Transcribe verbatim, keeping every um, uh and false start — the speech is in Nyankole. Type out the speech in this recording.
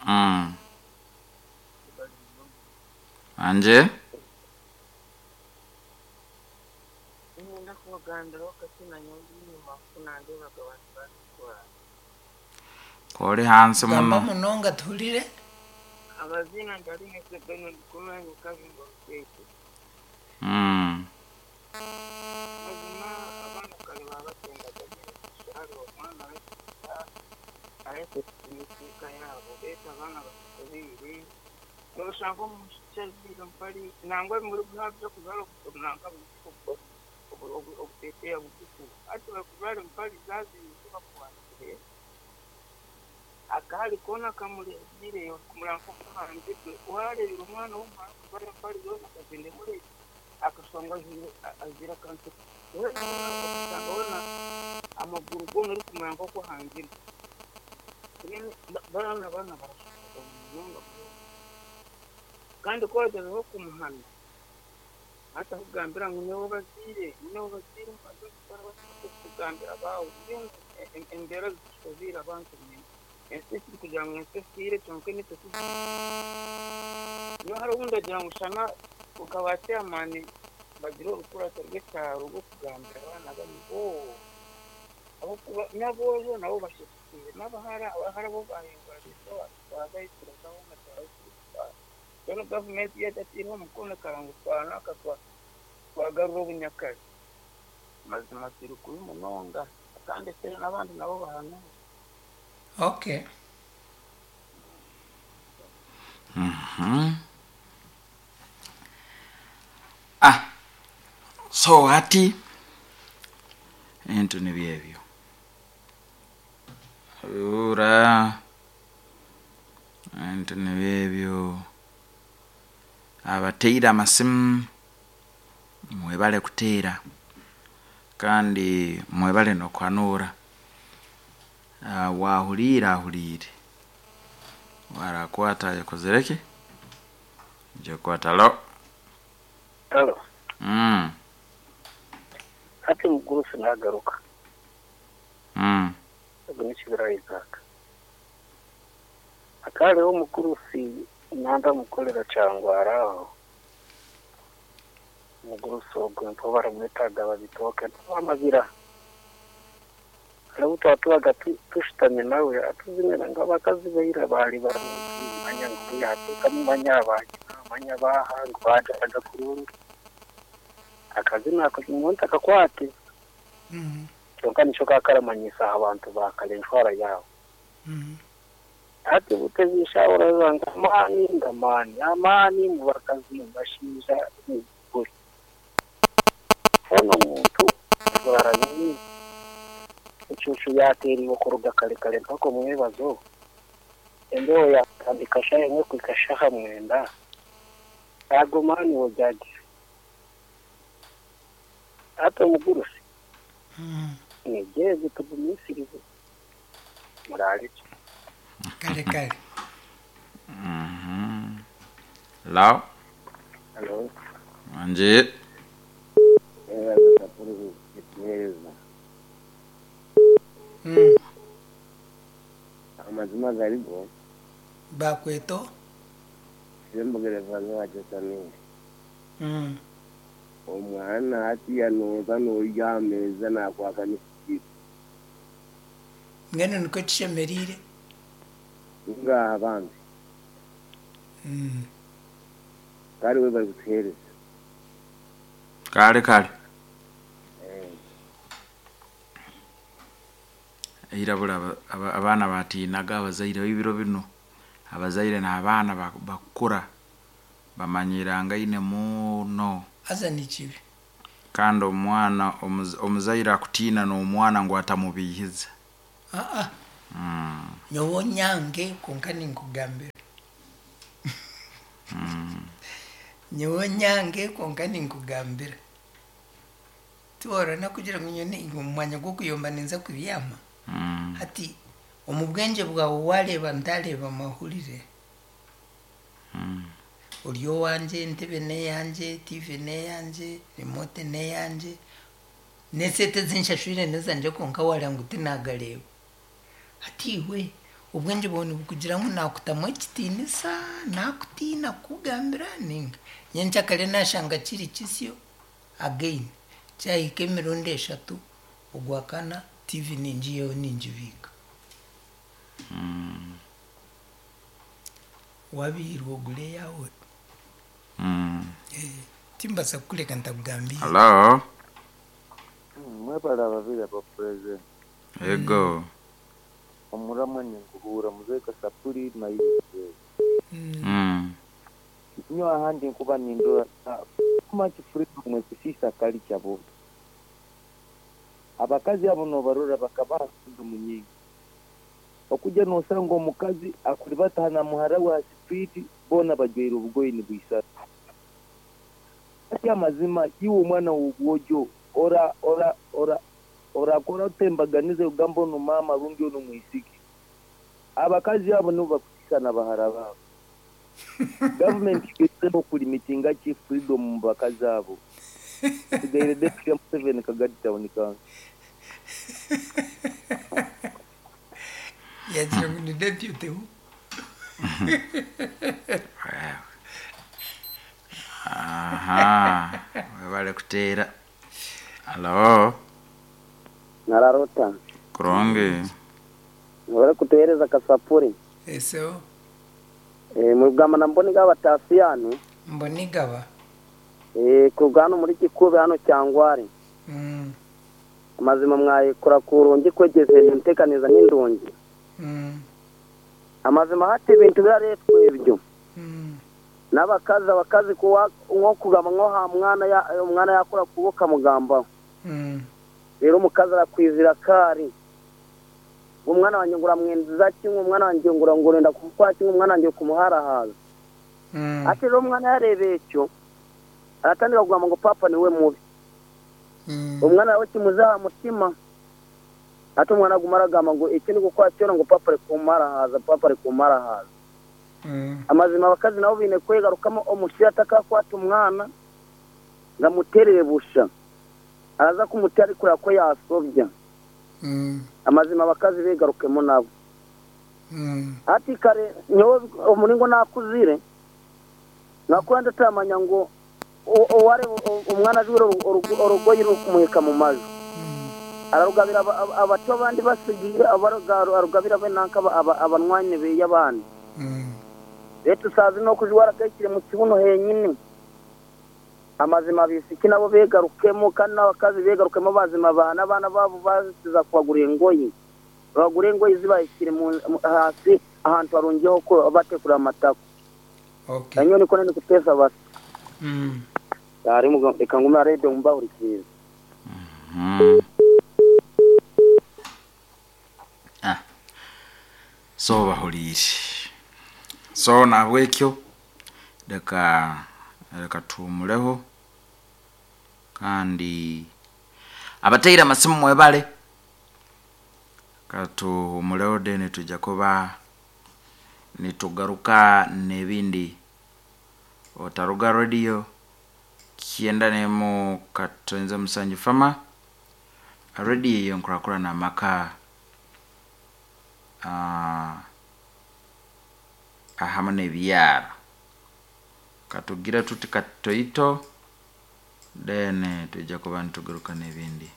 Mm. Anje Ngenda kubagambira wakati nanyonga enyuma kunandebaga abantu barikukora. Kori hansi Gamba muno. Munonga tuhurire. Amazina ndarinese Benon kumanya Kabingo Rukete. Mm. Mazima abaana kare baba batendaga hariho omwana areke kusimika yabo beta abaana batukubiire noshanga omushiki aziire mpari nangwa muri bwabyo kuzara nanka obuteteya bugufu ati bakuzara mpari zaziire bakuwandikire akahari koona kamureebire kumuranka okuhanzirwe wareebire omwana w'omuhara kuzara mpari zoona akagenda emurebe akashanga azira akantu okashanga wona amaguru goona orikumuranga okuhangirwe baana baana barashoboka munonga kandi ku wagezeho kumuhana atakugambira ngu niwe baziire niwe baziire kugambira abawe embeera zishobiire abantu ensi ekiri kugira ngu ensi esiire kyonka nitwe niyo hari obundi agira ngu shana ukaba chairman bagira orukurato rw'ekyaro rw'okugambira abaana bari oo abakuba n'aboojo nabo bashekire n'abahara abahara bo bahinguraniza twagayikiriza bona twagayikiriza rero gavumenti yatatiireho omukono ekarangu twanaka twagarura obunyakare mazima turi kubi munonga kandi ese n'abandi nabo bahanuura. Okay. Mhm. Ah, so ati ebintu nibyo ebyo ura ebintu nibyo ebyo abateire amasimu mwebale kuteera kandi mwebale n'okwanura. uh, wahuriire ahuriire warakwata yakozereki jekwata lo. Halo. Mm. Hati mugurusi nagaruka. Mm. Ogu nikibira Isaac. Akariho omugurusi nanda mukorera cyangwa araho. Mugurusi ogwo mpo baramwetaga babitoke bamabira. Hariho twatubaga tushitamye nawe atuzimira ngo abakazi beira bari baramumanya ngo yateka mumanya abanyina manya baha ngo bajaga kurungi. Akazi nako umuntu akakwate. Mm. Kyonka nico kakaramanyisa abantu bakare entwara yawe. Mm. Ati butezisha urazanga amani ngamani amani mu bakazi bashinja buri. Ono muntu baranyini icucu yateriwe kuruga kare kare mpaka mwebazo. Embeho yatandika shaye nko kwikashaha mwenda. Ago mani wojaji. Ate mugurusi. Mm. Nigeze tugumisirize. Murari. Kare kare. Mhm. Lao. Halo. Anje. Eh, kapuru kituhereza. Mm. Amazima garigo Bakweto. Sembogere vanhu vachesamiri. Mm. Omwana ati anoza noya ameza nakwaka nisikiza. Ngeno niko kishemerire. Ngaha abandi. Mm. Kari we bari kutuhereza. Kare kare. Eh. Irabura abaana batiinaga abazaire b'ibiro bino abazaire n'abaana bakura bamanyirangaine muno. Aza ni kibi. Kandi omwana omuzaire akutiina n'omwana ngu atamubiihiza. Ah ah. Mm. Nyowe nyange konka ninkugambira. Mm. Nyowe nyange konka ninkugambira. Tiworana kugira ngu nyone omwanya gw'okuyomba ninza kubyama. Mm. Hati omu bwengye bwawe wareeba ntareeba mahurire. Mm. Ori owangye, entebe n'eyangye, T V n'eyangye, remote n'eyangye, n'esente zinshashwire n'ezangye konka wareeba ngu tinagareeba. Hati iwe Obwengye bwawe nibukugira ngu naakutamu ekitiinisa, naakutiina kukugambira ninga nyencakare naashanga kiri kisyo again kyahika emirundi eshatu ogwakana T V ningiihaho ningibiika. Wabiirwe ogure eyaawe. Mm. Timbaasa kukureka ntakugambiire. Hello. Mwebale ababiri aba president. Ego. Omuramwa ninguhura muzehe Kasapuri mayize. Mm. Nyo ahandi nkuba nindora much freedom ekusisa culture bo. Abakazi abo nobarora bakabaha freedom nyingi. Okujja nosanga omukazi akuribata na muhara wa street bona bajwaire obugoye nibwisana. Ati amazima iwe omwana w'obwojo ora ora ora orakora otembaganize ogamba ono mama rundi ono mwisiki. Abakazi abo nibo bakusisa na bahara babo. Gavumenti igezeho kulimitinga ki freedom mu bakazi abo. Sigaire deputy ya Museveni Kagadi Town Council. Yagira ngu ni deputy who? Aha, webale kuteera. Hello. Nararota. Kurungi. Webale kutuhereza Kasapuri. Eso. Eh, mugamba na mboni gaba tasiyani. Mbonigaba. Eh, kugano muri kikube hano cyangwari. Mm. Amazima mwayikora kurungi kwegeze ntekaniza n'indungi. Mm. Amazima hati ibintu biraretwe ibyo. Mm. N'abakazi abakazi kuwa nko kugamba nko ha mwana ya umwana yakora kuboka mugamba. Mm. Rero umukazi arakwizira kari. Umwana wanjye ngura mwenza kimwe, umwana wanjye ngura ngurenda kukwa kimwe, umwana wanjye kumuharahaza. Mm. Ati rero umwana yarebeye icyo aratangira kugamba ngo papa niwe mubi. Mm. Umwana wawe kimuzaha mutima. Ati umwana aguma aragamba ngo iki ni gukora cyo ngo papa ari kumarahaza, papa ari kumarahaza. Mm. Amazima abakazi nabo bine kwegarukamo omusiri atakakwata umwana ngamuterere busha. Araza kumutera ariko ko yasobya. Mm. Amazima abakazi begarukemo nabo. Mm. Ati kare nyowe omuringo nakuzire nakura ndatamanya ngo oware umwana ajure urugoyi rukumuheka mu mazu. Ararugabira abato abandi basigiye arugabira be nanka abanwanye be y'abandi. Rero sazi no kujwara kekire mu kibuno henyine. Amazima bisiki nabo begarukemo kandi n'abakazi begarukemo bazima bana abana babo baziza kubagurira ingoyi. Bagure ingoyi zibayishyire hasi ahantu harungiyeho ko batekura amatako. Okay. Nanyo niko nani kutesa basi. Mm. Ari mugo reka ngume radio mbahurikiza. Mm. Ah. So bahuriire. So nabwekyo reka reka tuumuleho kandi abateire amasimu mwebale katuhumuleho then tujja kuba nitugaruka n'ebindi. Otaruga radio kyenda nemu katonze musanju fama radio eyo nkurakurana amaka uh, ahamu n'ebyaro katugira tuti katoito then tujja kuba nitugaruka n'ebindi.